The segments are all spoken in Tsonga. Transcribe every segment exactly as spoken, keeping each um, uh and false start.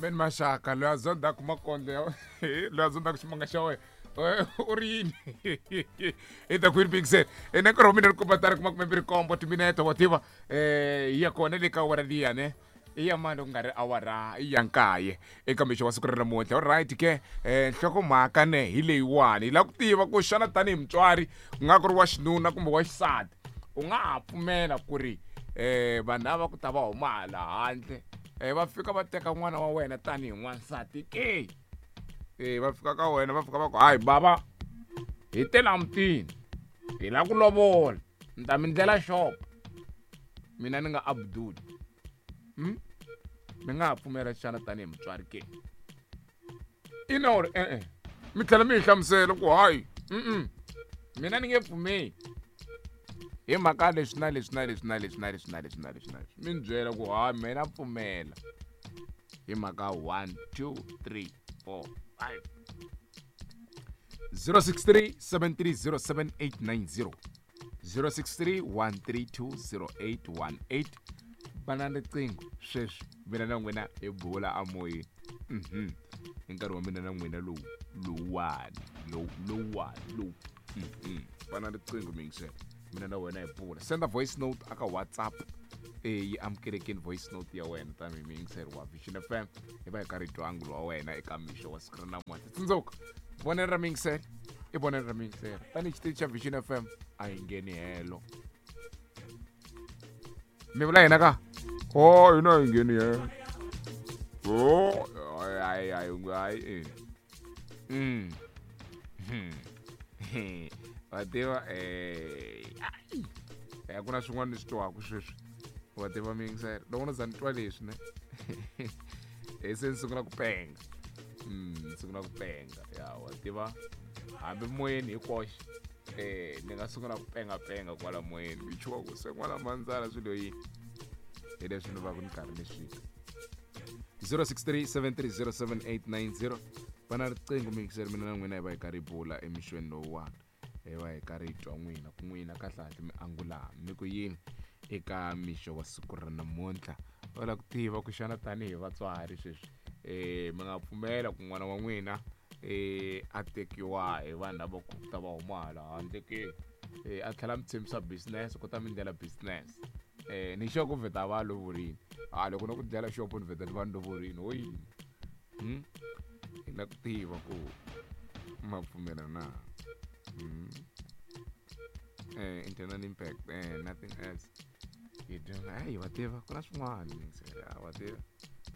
Amen Maxaka loyi a zondaku makondlo ya loyi a zondaku ximanga xa wena u ri yini i ta Queen Big ene nkarhi wa mina ri komba tari kuma kume mbirhi nkombo timinete wa tiva um yi ya kona le ka awara liya ne i ya mani ku nga ri awara ya nkaye eka mixo wa siku ra namuntlha alright ke um nhlokomhaka ne hi leyiwani hi lava ku tiva ku xana tanihi mutswari ku nga ku ri wa xinuna kumbe wa xisati u nga ha pfumela ku ri um vanhu lava ku ta va huma hala handle um va fika va teka n'wana wa wena tanihi n'wansati ke e va fika ka wena va fika va ku hayi bava hi te la mutini hi la ku lovola ni ta mi ndlela xopo mina ni nga Abdul hmm? Mi nga ha pfumela xana tanihi mutswari ke ina or e-e mi tlhela mi hi hlamusela ku hayi mm mina ni nge pfumeli hi mhaka leswi na leswi na leswi na leswi na leswi na leswi na leswi na leswi mi ni byela ku hayi mina pfumela hi mhaka one two three four five zero six three seven three zero seven eight nine zero zero six three one three two zero eight one eight bana riqingho sweswi mina na n'wina hi bula amoyeni mhm hi nkarhi wa mina na n'wina lowu lowuwani lowu lowuwani lowu mhm bana riqingho mingisela mina na wena hi bula senda voice note aka WhatsApp e yi amukelekeni voice note ya wena tanihi muyingiseri wa Vision F M hi va hi karhi hi twa angulo wa wena eka mixo wa siku ra namuntlha tsundzuka vonelo ra muyingiseri i vonelo ra muyingiseri tanihi xitichi xa Vision F M a hi ngheni helo mi vula yena ka o hina hi ngheni helo o hayi hayi hayi mm wa tiva eh ku na swin'wana ni swi twaka sweswi wa tiva miyingiselo loko no za ni twa leswi ne e se ni sungula ku penga mm ni sungula ku penga ya wa tiva hambi moyeni hi koxe eh ni nga sungula ku penga penga kwala moyeni mi chuwa ku se n'wana mandzala swilo yini hi leswi ni va ku ni karhi ni swi zero six three seven three zero seven eight nine zero va na riqingho miyingiselo mina na n'wina hi va hi karhi hi bula emixweni lowuwani hi va hi karhi hi twa n'wina ku n'wina kahlekahle mi angula mi ku yini eka mixo wa siku ra namuntlha va lava ku tiva ku xana tanihi vatswari sweswi um mi nga pfumela ku n'wana wa n'wina um a tekiwa hi vanhu lava ku ta va huma hala handle ke um a tlhela mi tshembisa business ku ta mi ndlela business um ni xo ku vheta va lovorini a loko no ku dlela xopo ni vheta ni va ni lovorini ho yini hmm? Hi lava ku tiva ku ma pfumela na hmm? Eh, internal impact eh, nothing else you do hayi wa tiva ku na swin'wana wa tiva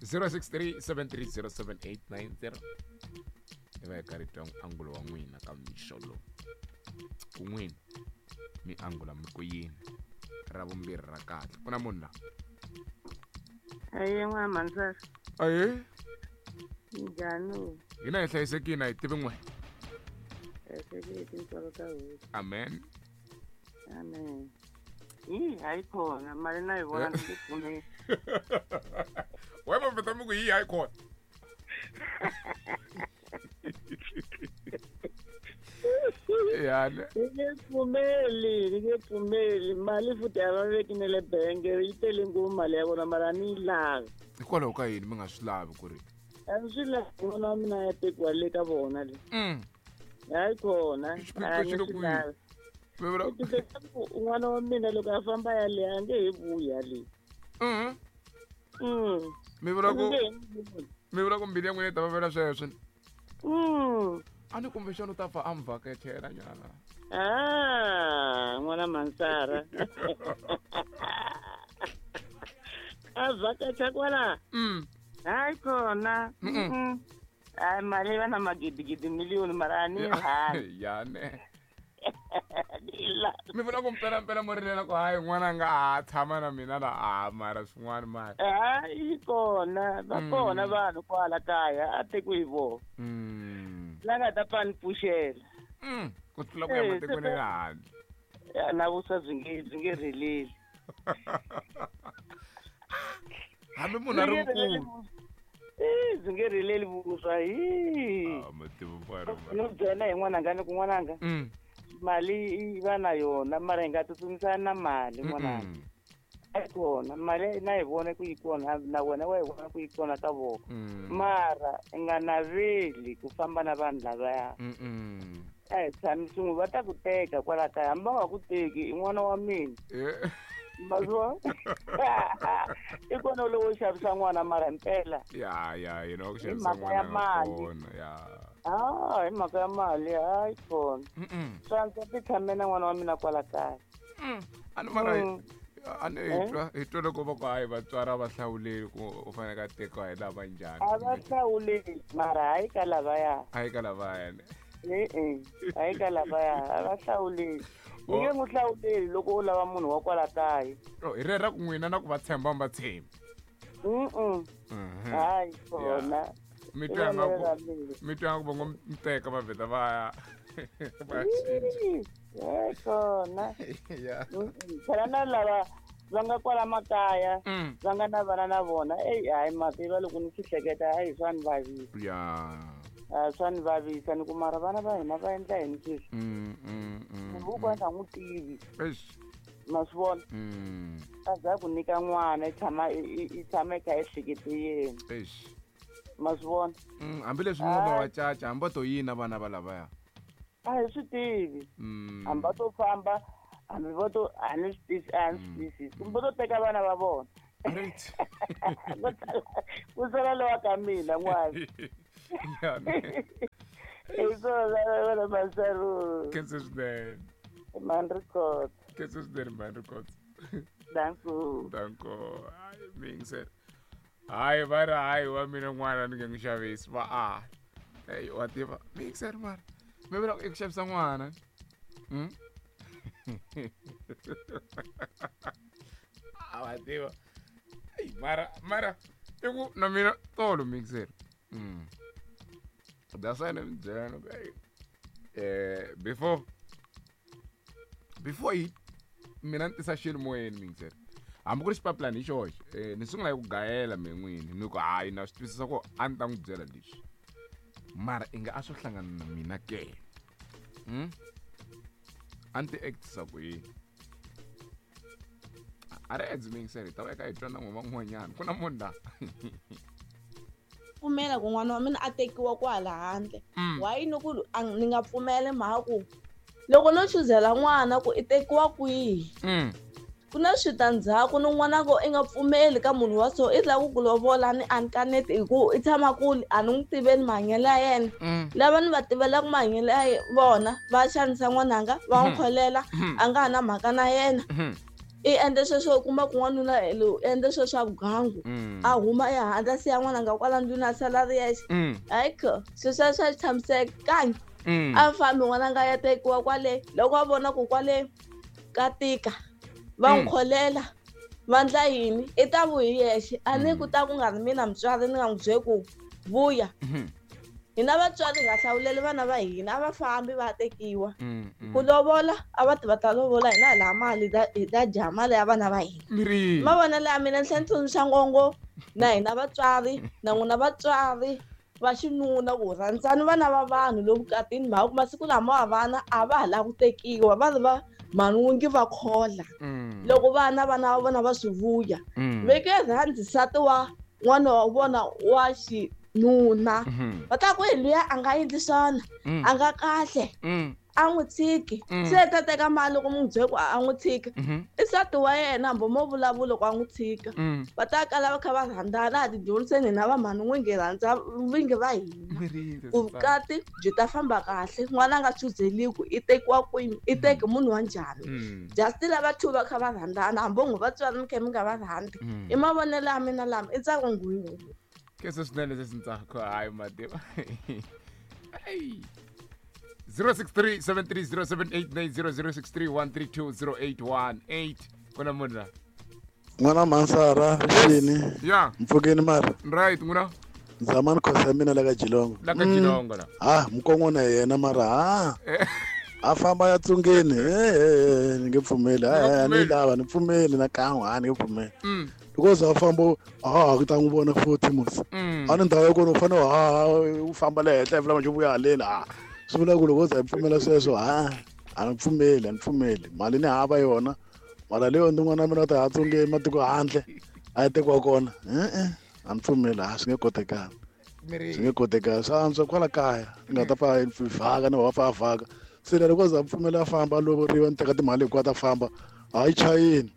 zero six three seven three zero seven eight nine zero hi va hi karhi twa angulo wa n'wina ka mixo lowu ku n'wina mi angula mi ku yini ra vumbirhi ra kahle ku na munhu la aye n'wana mandzara aye njhani hina hi hlayisekile a hi tivi n'we hlayisekile tintswalo ta hosi amen amen yi hayi khona mali na yi vona ni pfumeli we va vheta mi ku yi hayi khona yani ni nge pfumeli ni nge pfumeli mali futhi a va veki na le benge yi tele ngopfu mali ya vona mara a ni yi lavi hikwalaho ka yini mi nga swi lavi ku ri a ni swi lavi n'wana wa mina ya tekiwa le ka vona le Mm. hayi khona Xiphiqo a ni xi le swi kwihi? lavi Mi vula- Xiphiqo ku n'wana wa mina loko a famba yale a nge he vuyi yale Mhm. Mm. mi vula ku A nge he vuyi. mi vula ku mbilu ya n'wina yi ta vavela sweswo Mm. a ni kumbexana u ta pfa a mi vhakachela nyana Ah, n'wana Mansara. A vhakacha kwala. Mm. Hayi khona. Mm-mm. Mm. Hayi mali va na magidigidi miliyoni mara a ni yi rhandzi. ya ne Ni la- mi vula ku mpelampela mo rilela ku hayi n'wana nga ha tshama na mina la a mara swin'wana mara Hayi kona va Mm. kona vanhu kwala kaya a tekiwi hi vona Mm. la nga ta pfa ni pfuxela Mm. Ku tlula ku ya Eh, matikweni ya se- le handle Ya, na vuswa byi nge byi nge rheleli hambi munhu a ri Byi nge rheleli mukulu vuswa. Eh, byi nge rheleli vuswa hi Ah, matimu mara no byela hi n'wananga ni ku n'wananga Mm. mali yi va na yona mara hi nga tsutsumisani na mali n'wananga Mm-mm. Hayi kona mali na yi vona ku yi kona na wena wa yi vona ku yi kona ka vona mara i nga naveli ku famba na vanhu lavaya a hi tshami swin'we va ta ku teka kwala kaya hambi va nga ku teki i n'wana wa mina mazwa i kona lowo xavisa n'wana mara mpela ya ya yena wa ku xavisa n'wana kona ya ah hi mhaka ya mali hayi kona swantswa ti tshame na n'wana wa mina kwala kaya a ni mara a ni hi twa hi twa loko va ku hayi vatswari a va hlawuleli ku u fanele a tekiwa hi lava njhani a va hlawuleli mara hayi ka lavaya hayi ka lavaya ne e-e hayi ka lavaya a va hlawuleli ni nge n'wi hlawuleli loko u lava munhu wa kwala kaya hi rera ku n'wina na ku va tshemba mi va tshembi mm hayi kona mi twa nga ku mi twa nga ku va ngo mi teka va vheta va ya va cinca hayi kona phela na lava va nga kwala makaya va nga na vana na vona eyi hayi mativa loko ni swi hleketa hayi swa ni vavisa ya swa ni vavisa ni ku mara vana va hina va endla yini sweswi munhu wo ka nga n'wi tivi ma swi vona a za ku nyika n'wana i tshama i tshama i kha i hlekete yena ma swi vona hambileswi mi nga va wa caca hambi va to yina vana va lavaya a hi swi tivi hambi va to famba hambi va to a ni swi tisi a ni swi twisisi kumbe va to teka vana va vona right ku sala lowa ka mina n'wana hi swona vana Masaru khensa swinene mani record khensa swinene mani record danko danko hayi mi yingisela hayi va ri hayi wa mina n'wana ni nge n'wi xavisi va a eyi wa tiva mi yingisela mara mi vula i ku xavisa n'wana a wa tiva eyi mara mara i ku na mina tolo mi yingisela that's why ni mi byela ni ku eyi eh before before yi mina ni tisa xilo moyeni mi yingisela hambi ku ri xipapilani hi xoxe eh ni sungula hi ku gayela me n'wini ni ku hayi na swi twisisa ku a ni ta n'wi byela leswi mara i nga a swo hlangana na mina ke hmm? A ni ti actisa ku yini a ri edzi mi yingisela hi ta va eka hi twa na n'we van'wanyana ku na munhu la pfumela ku n'wana wa mina a tekiwa kwala handle why ni ku ni nga pfumeli mhaka ku loko no chuzela n'wana ku i tekiwa kwihi ku na switandzhaku ni n'wana ku i nga pfumeli ka munhu wa so i lava ku ku lovola ni a ni kaneti hi ku i tshama kule a ni n'wi tiveli mahanyelo ya yena lava ni va tivelaka mahanyelo ya vona va xanisa n'wananga va n'wi kholela a nga ha na mhaka na yena i endle sweswo u kuma ku n'wanuna lowu endle sweswo swa vugangu a huma ehandle a siya n'wananga kwala ndlwini a sala ri yexe hayi kho swilo sweswo a swi tshamisekangi a fambi n'wananga ya tekiwa kwale loko a vona ku kwale ka tika va n'wi kholela va ndla yini i ta vuyi yexe a ni ku ta ku nga ri mina mutswari ni nga n'wi byeli ku vuya hina vatswari hi nga hlawuleli vana va hina a va fambi va tekiwa ku lovola a va ti va ta lovola hina hi laha mali hi ta dya mali ya vana va hina mavonelo ya mina ni tlhela ni tsundzuxa ngongo na hina vatswari na n'wina vatswari va xinuna ku rhandzani vana va vanhu lowu vukatini mhaka ku masiku lama wa vana a va ha lava ku tekiwa va ri va manungi va khola loko vana vana va vona va swi vuya veke rhandzi nsati wa n'wana wa vona wa xinuna va ta ku hi luya a nga endli swona a nga kahle a n'wi tshiki se ta teka mali loko mu n'wi byele ku a n'wi tshika i nsati wa yena hambi mo vulavula ku a n'wi tshika va ta kala va kha va rhandzana a ti dyondziseni hina va mhani n'wingi rhandza vingi va hina ku vukati byi ta famba kahle n'wana a nga chuzeliku i tekiwa kwini i teki munhu wa njhani just lava two va kha va rhandzana hambi n'wi vatswari mi kha mi nga va rhandzi i mavonelo ya mina lama i ntsako ngwini khensa swinene sesi Ntsako hayi mativa eyi zero six three seven three zero seven eight nine zero zero six three one three two zero eight one eight kuna munhu la n'wana Mansara rixini ya mpfukeni mara right n'wina Nzamani Khosa mina la ka Jilongo la ka Jilongo la ah mukon'wana yena mara ha a famba ya tsungeni eh ni nge pfumeli a ni lava ni pfumeli na kan'we a ni nge pfumeli because a famba a ku ta n'wi vona futhi musi a ni ndhawu ya kona u fanele ha u famba le henhla vula manje vuya haleni a swi vula ku loko u za hi pfumela sweswo ha a ni pfumeli a ni pfumeli mali ni hava yona Mara leyo ndi n'wana mina u ta ya tsungeni matiko handle a ya tekiwa kona e-e a ni pfumeli a swi nge kotekani swi nge kotekani swa antswa kwala kaya ni nga ta pfa vhaka ni va pfa a vhaka se loko za pfumela a famba a lovoriwa ni teka timali hinkwato a famba hayi chayini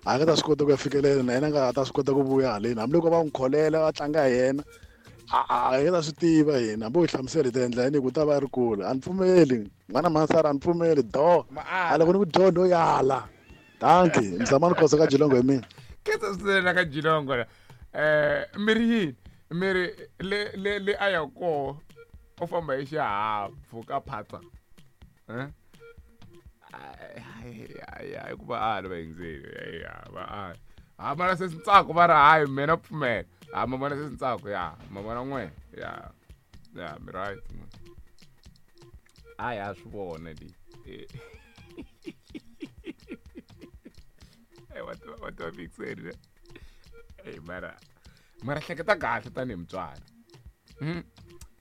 a nga ta swi kota ku ya fikelela na yena a nga ta swi kota ku vuya haleni hambiloko va n'wi kholela va tlanga hi yena a hi ta swi tiva hina hambi u hi hlamusela hi ta endla yini ku ta va ri kule a ni pfumeli n'wana masara a ni pfumeli do a loko ni ku dyondza yala danki mzamani khosa ka Jilongo hi mina khetsa swinene na ka Jilongo eh mi ri yini mi ri le le le a ya koho u famba hi xihahampfhuka phatsa eh hayi ku va ala va yingiseli va ala ha mara se Ntsako va ri hayi mina pfumela ha ma vona se Ntsako ya ma vona n'we ya ya mi right hayi a swi vona li eh wa wa wa fixeri eh mara mara hleketa kahle tanihi mutswari mm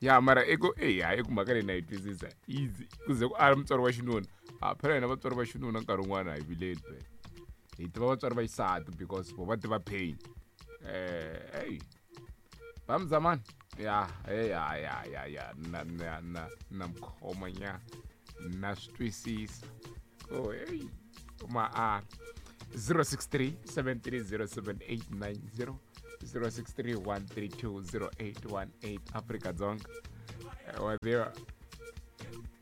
ya mara i ku eh hayi ku mhaka leyi na yi twisisa easy ku ze ku ala mutswari wa xinuna a phela hina vatswari va xinuna nkarhi wun'wana hi vileli phela hi tiva vatswari va xisati because vo va tiva pain eh hey va mzamani ya ya ya ya ya na na na na mkhoma nya na swi twisisa ko hey ma a zero six three seven three zero seven eight nine zero zero six three one three two zero eight one eight Afrika Dzonga wa tiva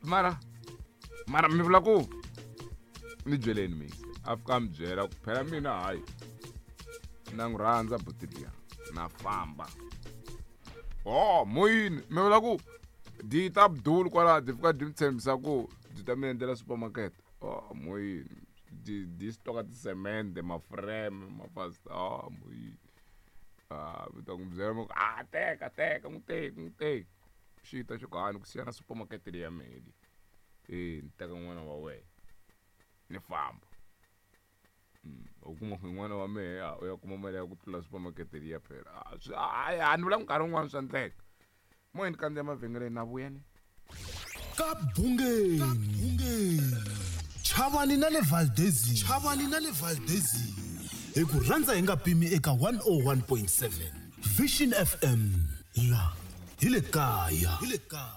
mara mara mi vula ku ni byeleni mix a fika mi byela ku phela mina hayi na n'wi rhandza buti liya na famba oh moyini mi vula ku di ta Abdul kwala di fika di mi tshembisa ku di ta mi endlela supermarket oh moyini di di stoka tisemende maframe mafast oh moyini ah mi ta n'wi byela mi ku ah teka teka n'wi teki n'wi teki xi ta xi ku hani ku siya na supermarket leyi ya mehe leyi eh ni teka n'wana wa wena ni famba u kuma ku n'wana wa mehe u ya kuma mali ya ku tlula supermarket liya phela a ni vula nkarhi wun'wana swa endleka moyeni kandziya mavhengeleni na vuya ni ka Bungeni Chavani na le Valdezini Chavani na le Valdezini hi ku rhandza hi nga pimi eka one oh one point seven Vision F M la hi le kaya hi le kaya.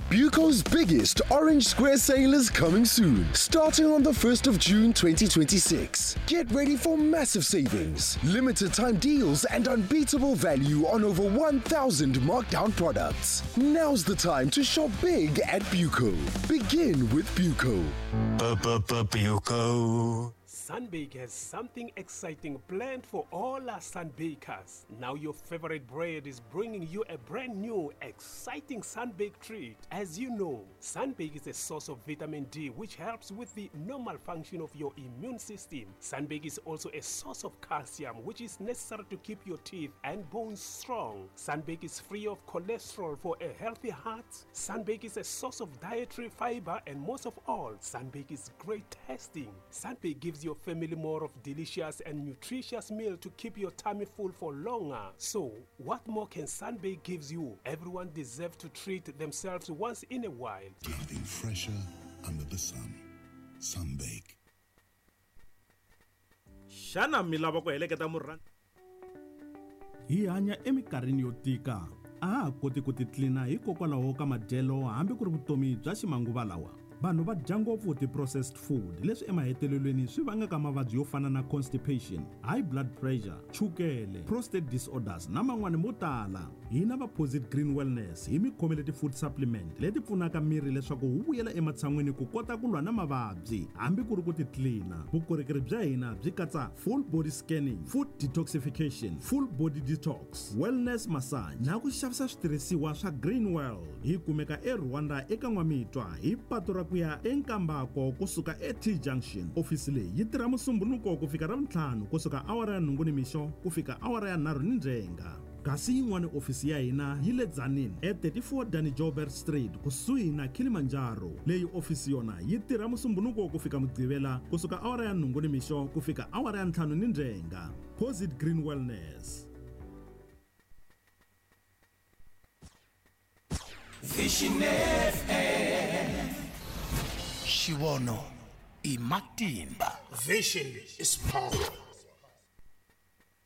Buco's biggest Orange Square sale is coming soon, starting on the first of June twenty twenty-six. Get ready for massive savings, limited time deals, and unbeatable value on over one thousand markdown products. Now's the time to shop big at Buco. Begin with Buco. Buco. Sunbake has something exciting planned for all our Sunbakers. Now your favorite bread is bringing you a brand new, exciting Sunbake treat. As you know, Sunbake is a source of vitamin D, which helps with the normal function of your immune system. Sunbake is also a source of calcium, which is necessary to keep your teeth and bones strong. Sunbake is free of cholesterol for a healthy heart. Sunbake is a source of dietary fiber, and most of all, Sunbake is great tasting. Sunbake gives your family more of delicious and nutritious meal to keep your tummy full for longer. So, what more can Sunbake gives you? Everyone deserves to treat themselves once in a while. Nothing fresher under the sun. Sunbake. Xana mi lava ku heleketa murhandzi? Hi hanya eminkarhini yo tika. A ha koti ku titlina hikokwalaho ka madyelo hambi ku ri vutomi bya ximanguva lawa. Vanhu va dya ngopfu ti-processed food leswi emahetelelweni swi vangaka mavabyi yo fana na constipation, high blood pressure, chukele, prostate disorders na man'wani mo tala. Hina va Posit Green Wellness hi mi khomele ti-food supplement leti pfunaka miri leswaku wu vuyela ematshan'wini ku kota ku lwa na mavabyi hambi ku ri ku titlina. Vukorhokeri bya hina byi katsa full body scanning, food detoxification, full body detox, wellness massage na ku xavisa switirhisiwa swa Green World. Hi kumeka eRwanda eka N'wamitwa hi patu ra ku ya eNkambako kusuka e-T Junction. Ofisi leyi yi tirha Musumbunuko ku fika Ravuntlhanu kusuka awara ya nhungu nimixo ku fika awara ya nharhu ni ndzhenga. Kasi yin'wana ofisi ya hina yi le Tzaneen e thirty-four Danny Joubert Street kusuhi na Kilimanjaro. Leyi ofisi yona yi tirha Musumbunuko ku fika Mugqivela kusuka awara ya nhungu nimixo ku fika awara ya ntlhanu ni ndzhenga. Posit Green Wellness. Vision F M. Xivono i matimba. Vision is power.